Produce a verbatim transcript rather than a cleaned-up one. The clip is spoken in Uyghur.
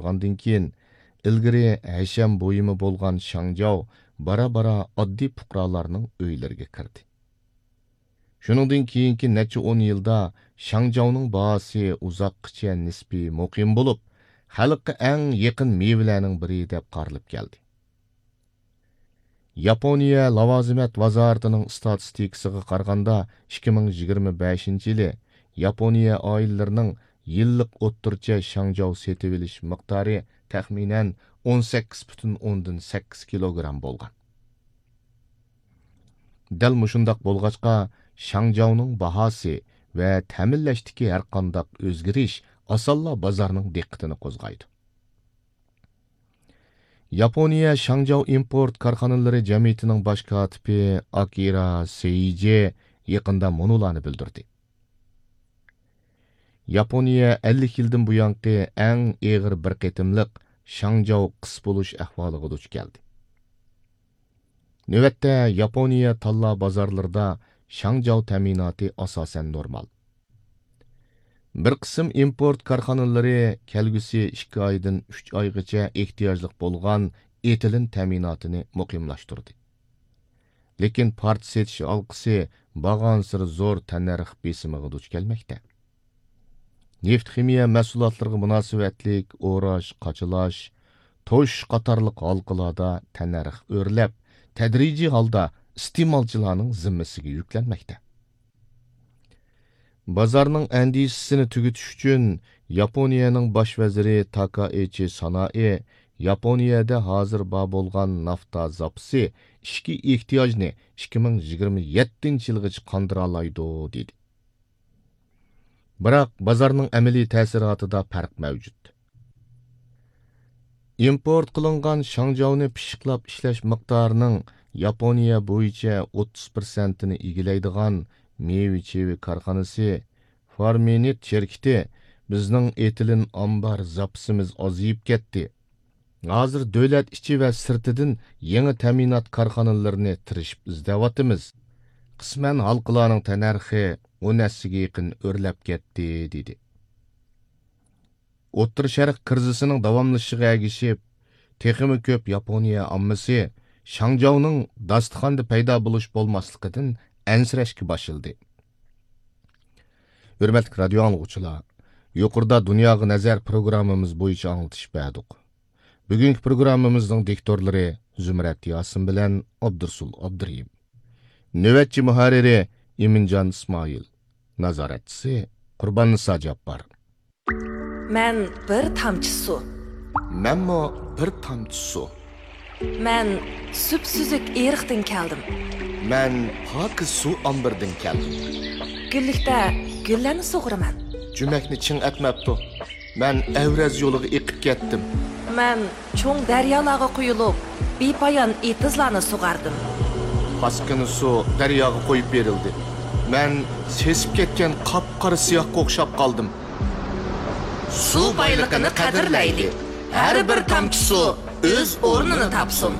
ئاشقاندىن كېيىن، ئىلگىرى ھەشەم بۇيۇمى بولغان شاڭجاۋ بارا-بارا ئاددىي پۇقرالارنىڭ ئۆيلىرىگە كىردى. شۇنىڭدىن كېيىنكى نەچچە ئون يىلدا شاڭجاۋنىڭ باھاسى ئۇزاققىچە نىسپىي مۇقىم بولۇپ، خەلققە ئەڭ يېقىن مېۋىلەرنىڭ بىرى دەپ قارىلىپ كەلدى. ياپونىيە لاۋازىمەت ۋازارىتىنىڭ ئىستاتىستىكىسىغا قارىغاندا، ئىككى مىڭ يىگىرمە بەشىنچى يىلى ياپونىيە ئائىلىلىرىنىڭ يىللىق ئوتتۇرىچە شاڭجاۋ سېتىۋېلىش مىقدارى تەخمىنەن ئون سەككىز پۈتۈن ئوندىن سەككىز كىلوگرام بولغان. دەل مۇشۇنداق بولغاچقا، شاڭجاۋنىڭ باھاسى ۋە تەمىنلەشتىكى ھەرقانداق ئۆزگىرىش ئاسانلا بازارنىڭ دىققىتىنى قوزغايدۇ. ياپونىيە شاڭجاۋ ئىمپورت كارخانىلىرى جەمئىيىتىنىڭ باش كاتىپى ئاكىرا سېيجى يېقىندا مۇنۇلارنى بىلدۈردى. ياپونىيە ئەللىك يىلدىن بۇيانقى ئەڭ ئېغىر بىر قېتىملىق شاڭجاۋ قىس بولۇش ئەھۋالىغا دۇچ كەلدى. نۆۋەتتە ياپونىيە تاللا بازارلىرىدا شاڭجاۋ تەمىناتى ئاساسەن نورمال. بىر قىسىم ئىمپورت كارخانىلىرى كەلگۈسى ئىككى ئايدىن ئۈچ ئايغىچە ئېھتىياجلىق بولغان ئېتىلېن تەمىناتىنى مۇقىملاشتۇردى. لېكىن پارچە سېتىش ھالقىسى بارغانسېرى زور تەننەرخ بېسىمىغا دۇچ كەلمەكتە. نېفىت خىمىيە مەھسۇلاتلىرىغا مۇناسىۋەتلىك ئوراش، قاچىلاش، توشۇش قاتارلىق ھالقىلاردا تەننەرخ ئۆرلەپ، تەدرىجىي ھالدا ئىستېمالچىلارنىڭ زىممىسىگە يۈكلەنمەكتە. بازارنىڭ ئەندىشىسىنى تۈگىتىش ئۈچۈن، ياپونىيەنىڭ باش ۋەزىرى تاكائىچى سانائى ياپونىيەدە ھازىر بار بولغان نافتا زاپىسى ئىچكى ئېھتىياجنى ئىككى مىڭ يىگىرمە يەتتىنچى يىلغىچە قاندۇرالايدۇ، دېدى. بىراق، بازارنىڭ ئەمەلىي تەسىراتىدا پەرق مەۋجۇت. ئىمپورت قىلىنغان شاڭجاۋنى پىششىقلاپ ئىشلەش مىقدارىنىڭ ياپونىيە بويىچە ئوتتۇز پىرسەنتىنى ئىگىلەيدىغان مېۋە-چېۋە كارخانىسى فارمىنىت شىركىتى، بىزنىڭ ئېتىلېن ئامبار زاپىسىمىز ئازىيىپ كەتتى. ھازىر دۆلەت ئىچى ۋە سىرتىدىن يېڭى تەمىنات كارخانىلىرىنى تىرىشىپ ئىزدەۋاتىمىز. قىسمەن ھالقىلارنىڭ تەننەرخى ئون ھەسسىگە يېقىن ئۆرلەپ كەتتى، دېدى. ئوتتۇرا شەرق كىرىزىسىنىڭ داۋاملىشىشىغا ئەگىشىپ، تېخىمۇ كۆپ ياپونىيە ئاممىسى شاڭجاۋنىڭ داستىخاندا پەيدا بولۇش بولماسلىقىدىن ئەنسىرەشكە باشلىدى. ھۆرمەتلىك رادىيو ئاڭلىغۇچىلار، يۇقىرىدا دۇنياغا نەزەر پروگراممىمىز بويىچە ئاڭلىتىش بەردۇق. بۈگۈنكى پروگراممىمىزنىڭ دىكتورلىرى زۇمرەت ياسىن بىلەن ئابدۇرسۇل ئابدۇرېھىم. نۆۋەتچى مۇھەررىرى ئىمىنجان ئىسمائىل. نازارەتچىسى قۇرباننىسا جاپپار. مەن بىر تامچە سۇ. مەنمۇ بىر تامچە سۇ. مەن سۈپسۈزۈك ئېرىقتىن كەلدىم. مەن پاكىز سۇ ئامبىرىدىن كەلدىم. گۈللۈكتە گۈللەرنى سۇغۇرىمەن. جۈمەكنى چىڭ ئەتمەپتۇ. مەن ئەۋرەز يولىغا ئېقىپ كەتتىم. مەن چوڭ دەريالارغا قۇيۇلۇپ، بىپايان ئېتىزلارنى سۇغاردىم. پاسكىنا سۇ دەرياغا قويۇپ بېرىلدى. مەن سېسىپ كەتكەن قاپقارا سىياھقا ئوخشاپ قالدىم. سۇ بايلىقىنى قەدىرلەيلى. ھەر بىر تامچە سۇ ئۆز ئورنىنى تاپسۇن.